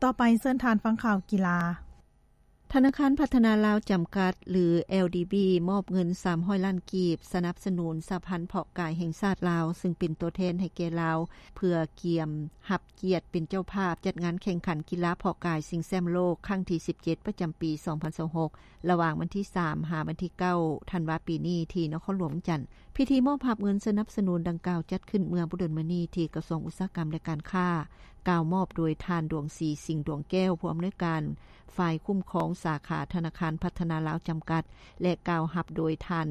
ຕໍ່ໄປເຊີນທ່ານຟັງຂ່າວກິລາ. ທະນາຄານພັດທະນາລາວຈຳກັດ ຫຼື ແອລດີບີ ມອບເງິນສາມຮ້ອຍລ້ານກີບ ສະໜັບສະໜູນສະຫະພັນເພາະກາຍແຫ່ງຊາດລາວ ຊຶ່ງເປັນຕົວແທນໃຫ້ແກ່ລາວ ເພື່ອກຽມຮັບກຽດເປັນເຈົ້າພາບຈັດງານແຂ່ງຂັນກິລາເພາະກາຍຊິງແຊ້ມໂລກຄັ້ງທີສິບເຈັດ ປະຈຳປີສອງພັນຊາວຫົກ ລະຫວ່າງວັນທີສາມ ຫາວັນທີເກົ້າ ທັນວາປີນີ້ ທີ່ນະຄອນຫຼວງວຽງຈັນ. ພິທີມອບຮັບເງິນສະໜັບສະໜູນດັ່ງກ່າວຈັດຂຶ້ນເມື່ອບໍ່ດົນມານີ້ ທີ່ກະຊວງອຸດສາຫະກຳ ແລະ ການຄ້າ ກ່າວມອບໂດຍທ່ານ ດວງສີ ສິງດວງແກ້ວ ຜູ້ອຳນວຍການ ຝ່າຍຄຸ້ມຄອງສາຂາທະນາຄານພັດທະນາລາວຈຳກັດ ແລະ ກ່າວຮັບໂດຍທ່ານ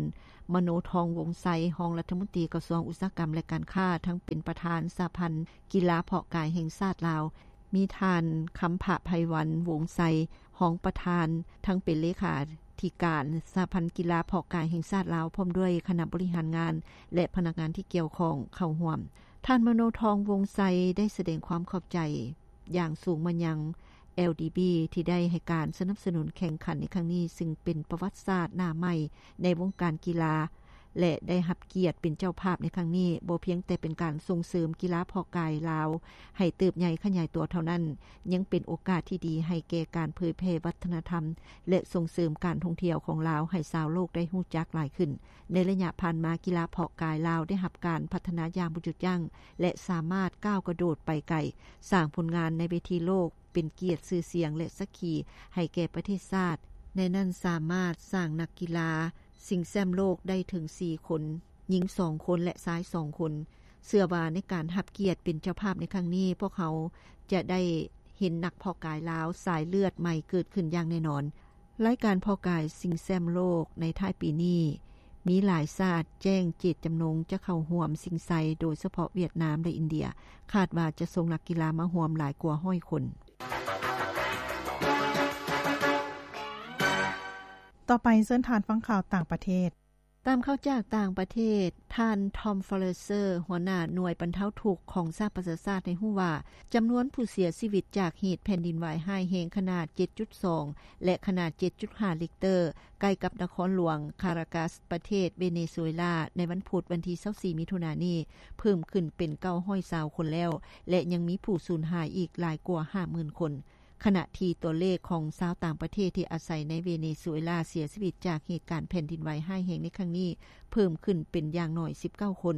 ມະໂນທອງ ວົງໄຊ ຮອງລັດຖະມົນຕີກະຊວງອຸດສາຫະກຳ ແລະ ການຄ້າ, ທັງເປັນປະທານສະຫະພັນກິລາເພາະກາຍແຫ່ງຊາດລາວ, ມີທ່ານ ຄຳພະ ໄພວັນ ວົງໄຊ ຮອງປະທານ, ທັງເປັນເລຂາທິການສະຫະພັນກິລາເພາະກາຍແຫ່ງຊາດລາວ, ພ້ອມດ້ວຍຄະນະບໍລິຫານງານ ແລະ ພະນັກງານທີ່ກ່ຽວຂ້ອງເຂົ້າຮ່ວມ. ທ່ານ ມະໂນທອງ ວົງໄຊ ໄດ້ສະແດງຄວາມຂອບໃຈ ຢ່າງສູງມາຍັງ ແອລດີບີ ທີ່ໄດ້ໃຫ້ການສະໜັບສະໜູນແຂ່ງຂັນໃນຄັ້ງນີ້, ຊຶ່ງເປັນປະຫວັດສາດໜ້າໃໝ່ໃນວົງການກິລາ ແລະ ໄດ້ຮັບກຽດເປັນເຈົ້າພາບໃນຄັ້ງນີ້ ບໍ່ພຽງແຕ່ເປັນການສົ່ງເສີມກິລາເພາະກາຍລາວໃຫ້ເຕີບໃຫຍ່ຂະຫຍາຍຕົວເທົ່ານັ້ນ, ຍັງເປັນໂອກາດທີ່ດີໃຫ້ແກ່ການເຜີຍແຜ່ວັດທະນະທຳ ແລະ ສົ່ງເສີມການທ່ອງທ່ຽວຂອງລາວໃຫ້ຊາວໂລກໄດ້ຮູ້ຈັກຫຼາຍຂຶ້ນ. ໃນໄລຍະຜ່ານມາ, ກິລາເພາະກາຍລາວໄດ້ຮັບການພັດທະນາຢ່າງບໍ່ຢຸດຢັ້ງ ແລະ ສາມາດກ້າວກະໂດດໄປໄກ, ສ້າງຜົນງານໃນເວທີໂລກ, ເປັນກຽດຊື່ສຽງ ແລະ ສັກຂີໃຫ້ແກ່ປະເທດຊາດ, ໃນນັ້ນສາມາດສ້າງນັກກິລາຊິງແຊ້ມໂລກໄດ້ເຖິງສີ່ຄົນ, ຍິງສອງຄົນ ແລະ ຊາຍສອງຄົນ. ເຊື່ອວ່າໃນການຮັບກຽດເປັນເຈົ້າພາບໃນຄັ້ງນີ້, ພວກເຮົາຈະໄດ້ເຫັນນັກເພາະກາຍລາວສາຍເລືອດໃໝ່ເກີດຂຶ້ນຢ່າງແນ່ນອນ. ລາຍການເພາະກາຍຊິງແຊ້ມໂລກໃນທ້າຍປີນີ້ ມີຫຼາຍຊາດແຈ້ງເຈດຈຳນົງຈະເຂົ້າຮ່ວມຊິງໄຊ, ໂດຍສະເພາະຫວຽດນາມ ແລະ ອິນເດຍ, ຄາດວ່າຈະສົ່ງນັກກິລາມາຮ່ວມຫຼາຍກວ່າຮ້ອຍຄົນ. ຕໍ່ໄປເຊີນທ່ານຟັງຂ່າວຕ່າງປະເທດ. ຕາມຂ່າວຈາກຕ່າງປະເທດ, ທ່ານ ທອມ ຟາເລເຊີ ຫົວໜ້າໜ່ວຍບັນເທົາທຸກຂອງສະຫະປະຊາຊາດ ໃຫ້ຮູ້ວ່າ ຈຳນວນຜູ້ເສຍຊີວິດຈາກເຫດແຜ່ນດິນໄຫວຮ້າຍແຮງຂະໜາດເຈັດຈຸດສອງ ແລະ ຂະໜາດເຈັດຈຸດຫ້າລິກເຕີ ໃກ້ກັບນະຄອນຫຼວງຄາຣາກັສ ປະເທດເວເນຊູເອລາ ໃນວັນພຸດວັນທີຊາວສີ່ ມິຖຸນານີ້ ເພີ່ມຂຶ້ນເປັນເກົ້າຮ້ອຍຊາວຄົນແລ້ວ ແລະ ຍັງມີຜູ້ສູນຫາຍອີກຫຼາຍກວ່າຫ້າໝື່ນຄົນ. ຂະນະທີ່ຕົວເລກຂອງຊາວຕ່າງປະເທດທີ່ອາໄສໃນເວເນຊູເອລາເສຍຊີວິດຈາກເຫດການແຜ່ນດິນໄຫວຮ້າຍແຮງໃນຄັ້ງນີ້ ເພີ່ມຂຶ້ນເປັນຢ່າງໜ້ອຍສິບເກົ້າຄົນ,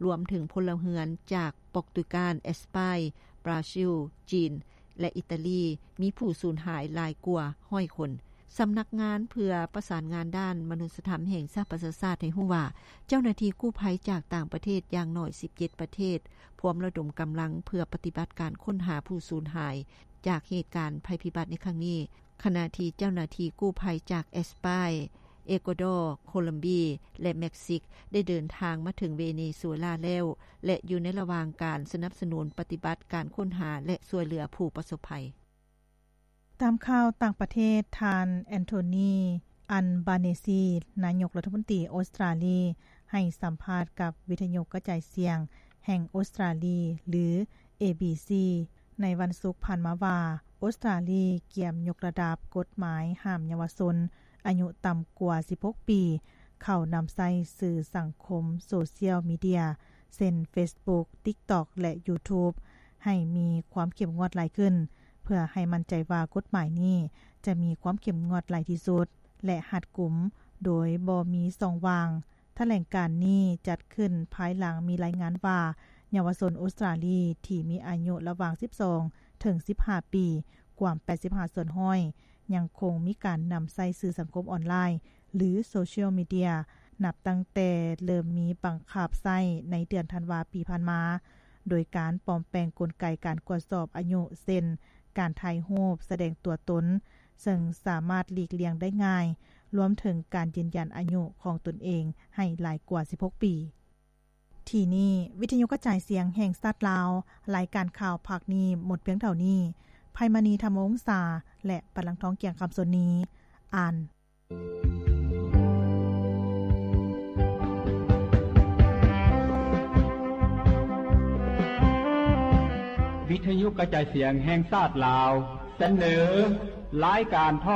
ລວມເຖິງພົນລະເຮືອນຈາກປອກຕຸຍການ, ແອັດສະປາຍ, ບຣາຊິລ, ຈີນ ແລະ ອີຕາລີ, ມີຜູ້ສູນຫາຍຫຼາຍກວ່າຮ້ອຍຄົນ. ສຳນັກງານເພື່ອປະສານງານດ້ານມະນຸດສະທຳແຫ່ງສະຫະປະຊາຊາດໃຫ້ຮູ້ວ່າ ເຈົ້າໜ້າທີ່ກູ້ໄພຈາກຕ່າງປະເທດຢ່າງໜ້ອຍສິບເຈັດປະເທດ ພວມລະດົມກຳລັງເພື່ອປະຕິບັດການຄົ້ນຫາຜູ້ສູນຫາຍ ຈາກເຫດການໄພພິບັດໃນຄັ້ງນີ້, ຂະນະທີ່ເຈົ້າໜ້າທີ່ກູ້ໄພຈາກແອັດສະປາຍ, ເອກົວດໍ, ໂຄລັມເບຍ ແລະ ເມັກຊິກ ໄດ້ເດີນທາງມາເຖິງເວເນຊູເອລາແລ້ວ ແລະ ຢູ່ໃນລະຫວ່າງການສະໜັບສະໜູນປະຕິບັດການຄົ້ນຫາ ແລະ ຊ່ວຍເຫຼືອຜູ້ປະສົບໄພ. ຕາມຂ່າວຕ່າງປະເທດ, ທ່ານ ແອນໂທນີ ອັນບາເນຊີ ນາຍົກລັດຖະມົນຕີອົດສະຕຣາລີ ໃຫ້ສຳພາດກັບວິທະຍຸກະຈາຍສຽງແຫ່ງອົດສະຕຣາລີ ຫຼື ເອບີຊີ ໃນວັນສຸກຜ່ານມາວ່າ ອົດສະຕຣາລີກຽມຍົກລະດັບກົດໝາຍຫ້າມເຍົາວະຊົນອາຍຸຕ່ຳກວ່າສິບຫົກປີ ເຂົ້ານຳໃຊ້ສື່ສັງຄົມໂຊຊຽວມີເດຍ ເຊັ່ນ ເຟສບຸກ, ຕິກຕັອກ ແລະ ຢູທູບ ໃຫ້ມີຄວາມເຂັ້ມງວດຫຼາຍຂຶ້ນ ເພື່ອໃຫ້ໝັ້ນໃຈວ່າກົດໝາຍນີ້ຈະມີຄວາມເຂັ້ມງວດຫຼາຍທີ່ສຸດ ແລະ ຮັດກຸມໂດຍບໍ່ມີຊ່ອງວ່າງ. ຖະແຫຼງການນີ້ຈັດຂຶ້ນພາຍຫຼັງມີລາຍງານວ່າ ເຍົາວະຊົນອົດສະຕຣາລີທີ່ມີອາຍຸລະຫວ່າງສິບສອງເຖິງສິບຫ້າປີ ກວ່າແປດສິບຫ້າສ່ວນຮ້ອຍ ຍັງຄົງມີການນຳໃຊ້ສື່ສັງຄົມອອນລາຍ ຫຼື ໂຊຊຽວມີເດຍ ນັບຕັ້ງແຕ່ເລີ່ມມີບັງຄັບໃຊ້ໃນເດືອນທັນວາປີຜ່ານມາ, ໂດຍການປອມແປງກົນໄກການກວດສອບອາຍຸ ເຊັ່ນ ການຖ່າຍຮູບສະແດງຕົວຕົນ, ເຊິ່ງສາມາດຫຼີກລ່ຽງໄດ້ງ່າຍ, ລວມເຖິງການຢືນຢັນອາຍຸຂອງຕົນເອງໃຫ້ຫຼາຍກວ່າສິບຫົກປີ. ທີ່ນີ້ ວິທະຍຸກະຈາຍສຽງແຫ່ງຊາດລາວ, ລາຍການຂ່າວພາກນີ້ໝົດພຽງເທົ່ານີ້. ໄພມະນີ ທຳວົງສາ ແລະ ປານລັງທອງ ກຽງຄຳສົນນີ ອ່ານ. ວິທະຍຸກະຈາຍສຽງແຫ່ງຊາດລາວ ສະເໜີ ລາຍການໂທ